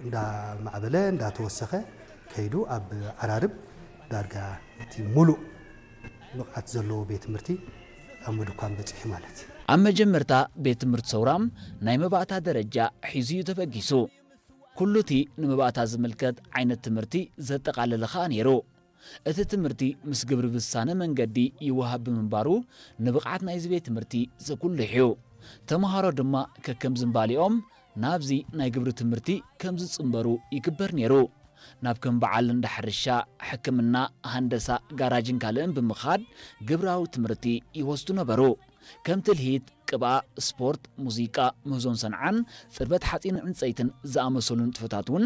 እንዳማዕበለ እንዳተወሰኸ ከይዱ ኣብ ዓራርብ ዳርጋ እቲ ሙሉእ ብቕዓት ዘለዎ ቤት ትምህርቲ ኣብ ምድኳን በፂሑ ማለት እዩ። ኣብ መጀመርታ ቤት ትምህርቲ ሰውራ ናይ መባእታ ደረጃ ሒዙ እዩ ተበጊሱ። ኩሉ እቲ ንመባእታ ዝምልከት ዓይነት ትምህርቲ ዘጠቓለለ ኸኣ ነይሩ። እቲ ትምህርቲ ምስ ግብሪ ብዝሳነ መንገዲ ይወሃብ ብምንባሩ ንብቕዓት ናይዚ ቤት ትምህርቲ ዘጉልሕ እዩ። ተምሃሮ ድማ ከከም ዝንባሌኦም ናብዚ ናይ ግብሪ ትምህርቲ ከም ዝጽንበሩ ይግበር ነይሩ። ናብ ከም በዓል እንዳ ሕርሻ፣ ሕክምና፣ ሃንደሳ፣ ጋራጅን ካልእን ብምኻድ ግብራዊ ትምህርቲ ይወስዱ ነበሩ። ከም ትልሂት፣ ቅብኣ፣ ስፖርት፣ ሙዚቃ፣ ምህዞን ሰንዓን፣ ጽርበት ሓጺን ዕንጸይትን ዝኣመሰሉ ንጥፈታት እውን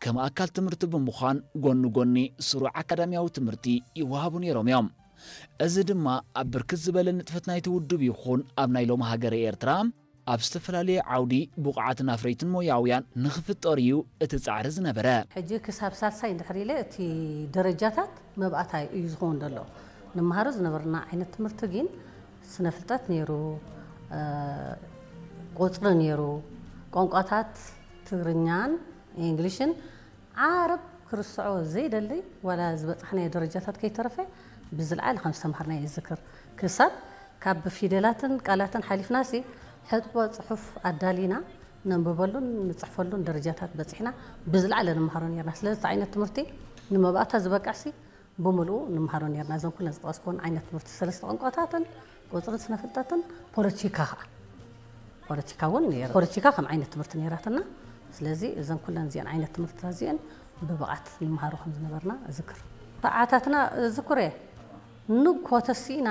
ከም ኣካል ትምህርቲ ብምዃን ጎኒ ጎኒ ስሩዕ ኣካዳሚያዊ ትምህርቲ ይወሃቡ ነይሮም እዮም። እዚ ድማ ኣብ ብርክት ዝበለ ንጥፈት ናይቲ ውድብ ይኹን ኣብ ናይ ሎሚ ሃገረ ኤርትራ ኣብ ዝተፈላለየ ዓውዲ ብቑዓትን ኣፍረይትን ሞያውያን ንኽፍጠር እዩ እቲ ጻዕሪ ዝነበረ። ሕጂ ክሳብ ሳልሳይ እንድሕር ኢለ እቲ ደረጃታት መብኣታይ እዩ ዝኸውን ዘሎ። ንመሃሮ ዝነበርና ዓይነት ትምህርቲ ግን ስነ ፍልጠት ነይሩ፣ ቁፅሪ ነይሩ፣ ቋንቋታት ትግርኛን ኢንግሊሽን ዓረብ ክርስዖ ዘይደሊ ዋላ ዝበፃሕናዮ ደረጃታት ከይተረፈ ብዝለዓለ ከም ዝተምሃርናዮ ይዝክር። ክሳብ ካብ ፊደላትን ቃላትን ሓሊፍናሲ ሕጥቦ ፅሑፍ ኣዳሊና ነንብበሉን ንፅሕፈሉን ደረጃታት በፂሕና ብዝለዓለ ንምሃሮ ነርና። ስለዚ እቲ ዓይነት ትምህርቲ ንመባእታ ዝበቅዕሲ ብምልኡ ንምሃሮ ነርና። እዘን ኩለን ዝጠቐስኩወን ዓይነት ትምህርቲ ሰለስተ ቋንቋታትን ቁፅርን ስነ ፍልጠትን ፖለቲካ ከዓ ፖለቲካ እውን ነይሩ። ፖለቲካ ከም ዓይነት ትምህርቲ ነይራትና። ስለዚ እዘን ኩለን እዚአን ዓይነት ትምህርትታት እዚአን ብብቕዓት ንምሃሮ ከም ዝነበርና እዝክር። ሰዓታትና እዝክር እየ። ንግሆ ተሲእና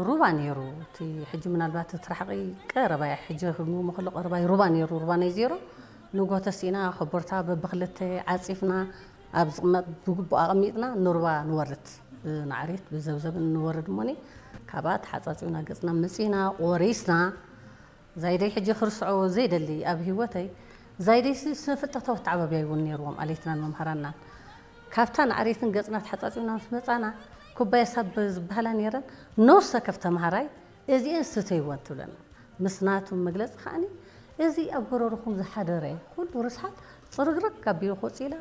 ሩባ ነይሩ። እቲ ሕጂ ምናልባት እቲ ራሕቂ ቀረባይ ሕጂ ክግምግሞ ከሎ ቀረባይ ሩባ ነይሩ። ሩባ ናይ ዜሮ ንግሆ ተሲእና ኮቦርታ በብክልተ ዓፂፍና ኣብ ዝቕመጥ ብግቡእ ኣቐሚጥና ንሩባ ንወርድ። ብናዕሪት ብዘብዘብ ንወርድ እሞኒ ካብኣ ተሓፃፂብና ገፅና መፂና ቆሪስና ዛይደይ ሕጂ ክርስዖ ዘይደሊ ኣብ ህይወተይ ዛይደይሲ ስነ ፍልጠታዊ ኣተዓባብያ እውን ነይርዎም ኣለይትናን መምሃራናን። ካብታ ናዕሪትን ገፅና ተሓፃፂብና ምስ መፃና ኩባያ ሳብ ዝበሃላ ነይረን ነፍሲ ወከፍ ተምሃራይ እዚኤን ስተይወን ትብለና። ምስ ናቱ መግለፂ ከዓኒ እዚ ኣብ ጎረርኹም ዝሓደረ ኩሉ ርስሓት ፅርግርግ ኣቢሉ ክወፅእ ኢላ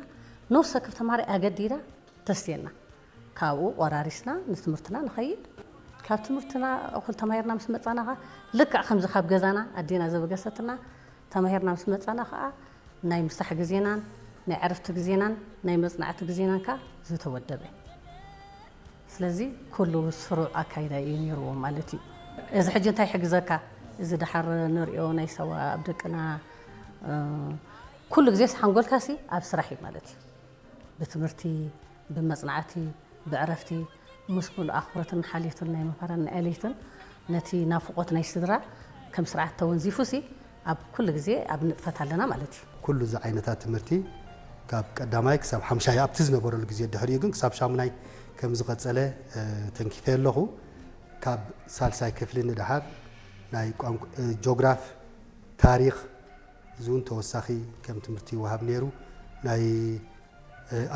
ነፍሲ ወከፍ ተምሃራይ ኣገዲዳ ተስትየና። ካብኡ ቆራሪስና ንትምህርትና ንኸይድ። ካብ ትምህርትና እኹል ተማሂርና ምስ መፃና ኸዓ ልክዕ ከምዚ ካብ ገዛና ኣዴና ዘበገሰትና ተማሂርና ምስ መፃና ኸዓ ናይ ምሳሕ ግዜናን ናይ ዕረፍቲ ግዜናን ናይ መፅናዕቲ ግዜናን ከዓ ዝተወደበ። ስለዚ ኩሉ ስሩዕ ኣካይዳ እዩ ነይርዎ ማለት እዩ። እዚ ሕጂ እንታይ ይሕግዘካ? እዚ ደሓር ንሪኦ ናይ ሳዋ ኣብ ደቅና ኩሉ ግዜስ ሓንጎልካሲ ኣብ ስራሕ እዩ ማለት እዩ። ብትምህርቲ፣ ብመፅናዕቲ፣ ብዕረፍቲ ምስ ኩሉ ኣኽብሮትን ሓልዮትን ናይ መምህራን ናይ ኣለይትን ነቲ ናፍቖት ናይ ስድራ ከም ስርዓት ተወንዚፉሲ ኣብ ኩሉ ግዜ ኣብ ንጥፈት ኣለና ማለት እዩ። ኩሉ እዚ ዓይነታት ትምህርቲ ካብ ቀዳማይ ክሳብ ሓምሻይ ኣብቲ ዝነበረሉ ግዜ ድሕሪኡ ግን ክሳብ ሻሙናይ ከም ዝቐጸለ ተንኪፈ ኣለኹ። ካብ ሳልሳይ ክፍሊ ንደሓር ናይ ቋንቋ ጆግራፍ፣ ታሪኽ፣ እዚ እውን ተወሳኺ ከም ትምህርቲ ይወሃብ ነይሩ። ናይ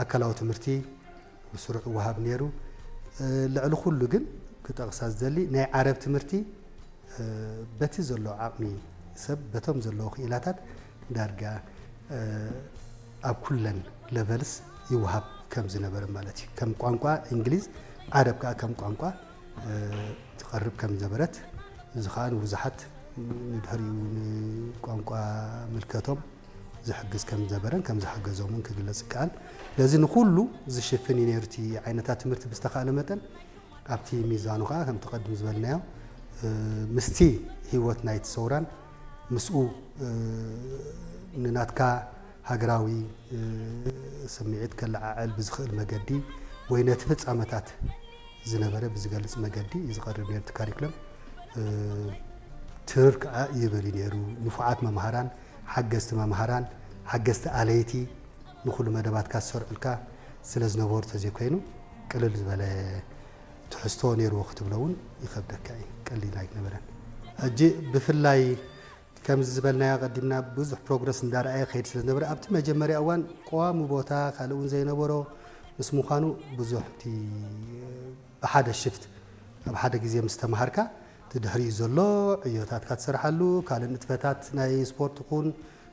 ኣካላዊ ትምህርቲ ብስሩዕ ይወሃብ ነይሩ። ልዕሊ ኩሉ ግን ክጠቕሳ ዝደሊ ናይ ዓረብ ትምህርቲ በቲ ዘሎ ዓቕሚ ሰብ በቶም ዘለዉ ክኢላታት ዳርጋ ኣብ ኩለን ለቨልስ ይወሃብ ከም ዝነበረ ማለት እዩ። ከም ቋንቋ እንግሊዝ ዓረብ ከዓ ከም ቋንቋ ትቐርብ ከም ዝነበረት፣ እዚ ከዓ ንብዙሓት ንድሕሪኡ ንቋንቋ ምልከቶም ዝሕግዝ ከም ዝነበረን ከም ዝሓገዞምን ክግለጽ ይከኣል። ስለዚ ንኹሉ ዝሽፍን እዩ ነይሩ እቲ ዓይነታት ትምህርቲ ብዝተኻእለ መጠን ኣብቲ ሚዛኑ ከዓ ከምቲ ቀድም ዝበልናዮ ምስቲ ህይወት ናይቲ ሰውራን ምስኡ ንናትካ ሃገራዊ ስምዒት ከለዓዕል ብዝኽእል መገዲ ወይ ነቲ ፍጻመታት ዝነበረ ብዝገልጽ መገዲ እዩ ዝቐርብ ነይሩ እቲ ካሪኩለም። ትርር ከዓ ይብል እዩ ነይሩ። ንፉዓት መምሃራን፣ ሓገዝቲ መምሃራን፣ ሓገዝቲ ኣለይቲ ንኹሉ መደባትካ ዝሰርዑልካ ስለ ዝነበሩ ተዘይኮይኑ ቅልል ዝበለ ትሕዝቶ ነይርዎ ክትብሎ እውን ይኸብደካ እዩ። ቀሊል ኣይነበረን። ሕጂ ብፍላይ ከምዚ ዝበልናዮ ኣቐዲምና ብዙሕ ፕሮግረስ እንዳረኣየ ክኸይድ ስለ ዝነበረ ኣብቲ መጀመርያ እዋን ቀዋሚ ቦታ ካልእ እውን ዘይነበሮ ምስ ምዃኑ ብዙሕ እቲ ብሓደ ሽፍት ኣብ ሓደ ግዜ ምስ ተምሃርካ እቲ ድሕሪኡ ዘሎ ዕዮታትካ ትሰርሓሉ ካልእ ንጥፈታት ናይ ስፖርት ይኹን